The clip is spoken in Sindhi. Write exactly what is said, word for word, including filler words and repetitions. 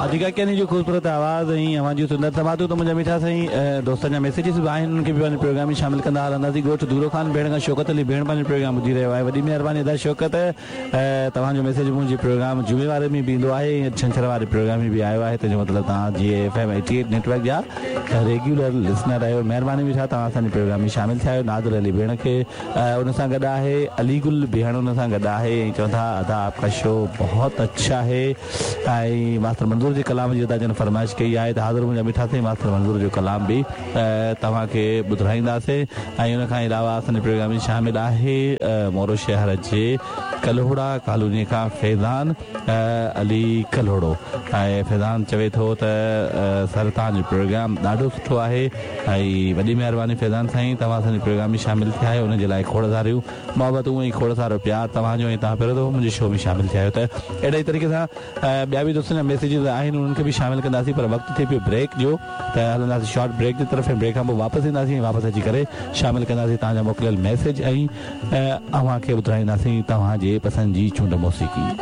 اديڪا ڪياني جو خوبصورت آواز ۽ اوهان جون سندر سماعتون ته منهنجا مٺا سائين دوستن جا ميسيجز به آهن انهن کي به پنهنجي پروگرام ۾ شامل ڪندا هلنداسين. ڳوٺ دورو خان ڀيڻ کان شوڪت علي ڀيڻ پنهنجو پروگرام ٻڌي رهيو آهي. وڏي مهرباني ادا شوڪت، توهان جو ميسيج منهنجي پروگرام جمعي واري ۾ به ايندو آهي ۽ ڇنڇر واري پروگرام ۾ به آيو آهي، تنهن جو مطلب توهان جي F M eighty eight network جا ريگيولر لسنر آهيو. مهرباني مٺا توهان اسان جي پروگرام ۾ شامل ٿيا آهيو. نادر علي ڀيڻ کي ان سان گڏ آهي، علي گل ڀيڻ ان سان گڏ آهي ۽ چون ٿا ادا آپ ڪا شو بهت اڇا هي. ۽ ماستر منظور جي ڪلام جي ادا جن فرمائش ڪئي آهي ته حاضر منهنجا مٺا سائين ماستر منظور جو ڪلام به توهان کي ٻڌرائينداسين. ۽ ان کان علاوه اسان جي پروگرام ۾ شامل آهي مورو شهر جي ڪلهوڙا ڪالوني کان فيضان علي ڪلهوڙو ۽ فيضان چوي ٿو ته سر توهان جو پروگرام ڏاڍو سٺو آهي ۽ وڏي مهرباني فيضان سائين توهان اسان جي پروگرام ۾ شامل ٿيا آهيو ان جي لاء کوڙ ساريون محبتون ۽ کوڙ سارو پيار توهان جو ۽ توهان پهريون دفعو منهنجي شو ۾ شامل ٿيا آهيو ته اهڙي ئي طريقي سان ٻيا به دوستن جا ميسيجز آهن انهن کي به شامل ڪنداسين پر وقت ٿئي پيو بريڪ جو ته هلنداسين شارٽ بريڪ جي طرف ۽ بريڪ کان پوء واپس اينداسين ۽ واپس اچي ڪري شامل ڪنداسين توهان جا موڪليل ميسيج ۽ اوهان کي ٻڌرائينداسين توهان جي پسند جي چونڊ موسيقي.